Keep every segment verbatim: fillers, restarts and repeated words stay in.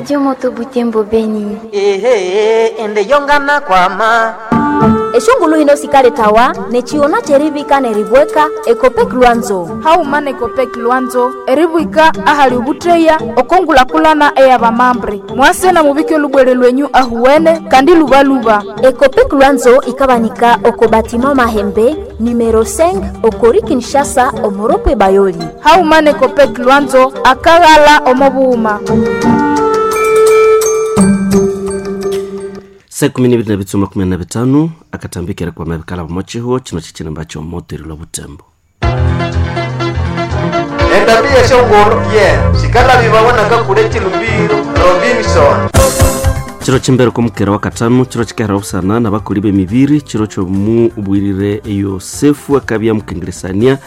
Radio Moto Butembo Beni. Ehe, ende yongana kwama Eshongulu hino sikaletawa nechiona cherivika neribweka Ekopek Lwanzo. Hauma nekopek Lwanzo eribwika ahali ubutreya okongulakulana eyabamambre mwase na mubike olubwere lwenyu ahuwene kandi lubaluba. Ekopek Lwanzo ikabanika oko batima Mahembe numero cinq okori Kinshasa omoropwe Bayoli. Hauma nekopek Lwanzo akaghala omobuuma. Saa kumi n'ibiri na bitsuma kumi na bitano akatambikira kwa mabikala bomochiho chino chichinemba chomoteri lwa Butembo. Endabia shongoro ye shikala bibabona kakule chilumbiro Robinson. Chiro chimbere kumukera wa katano chiro chikahera obusana nabakoli b'emibiri chiro kyomubwirire Yosefu akabya mukengeresania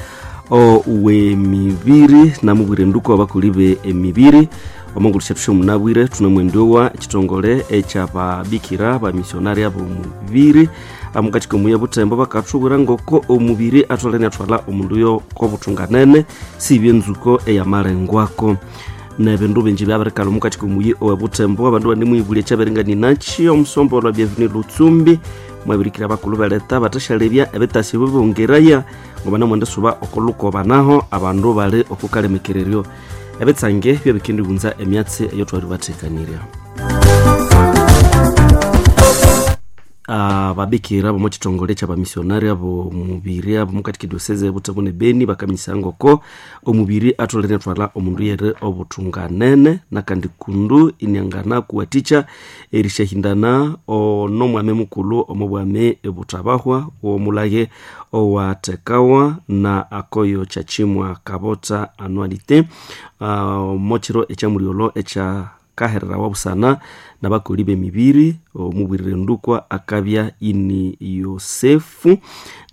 owemibiri namubwire nduku abakoli be emibiri omongulu syathu syomunabwire tunamwendowa ekitongole ekyababikira bamisionari ab'omubiri amukatiko muya Butembo bakathubwira ngoko omubiri atholene athwala omundu yo kobuthunganene sibye enzuko eyamalengwako nebindu bingi byabirikala omukatiko muyi owe Butembo abandu banemwibulya ekyabiringaninakyi omusombo olwa Bienvenu Lutsumbi mwabirikira abakulhu beleta bathashalebya ebitasi bibongeraya ngoba namwenda suba okulukoba naho abandu bali okukalemekereryo ebitsange byebikendibunza emyatsi eyotwali bathekanirya. Ababikira bomo chitongole kyabamisionari abo mubiri abo mukati diocese Butembo ne Beni bakamisa ngoko omubiri atholere athwala omundu yere obuthunganene nakandi kundu iniangana kuwatikya erishahindana onomwame mukulhu omobwame ebutabahwa womulage owathekawa na akoyo kyakimwa kabota anualite omochiro ekyamulyolho ekya kaherera wabusana nabakoli b'emibiri omubwirire ndukwa akabya ini Yosefu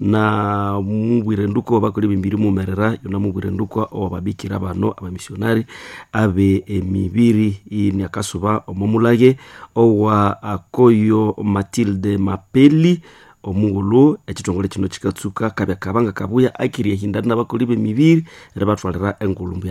na mubwirire ndukwa abakoli b'emibiri mumerera yona mubwirire ndukwa owababikira bano abamisionari abe emibiri ini akasuba omomulage owa akoyo Matilde Mapeli omughulhu ekitongole kino kikatsuka kabya kabanga kabuya akiri ehindana nabakoli b'emibiri eribathwalira engulumbu.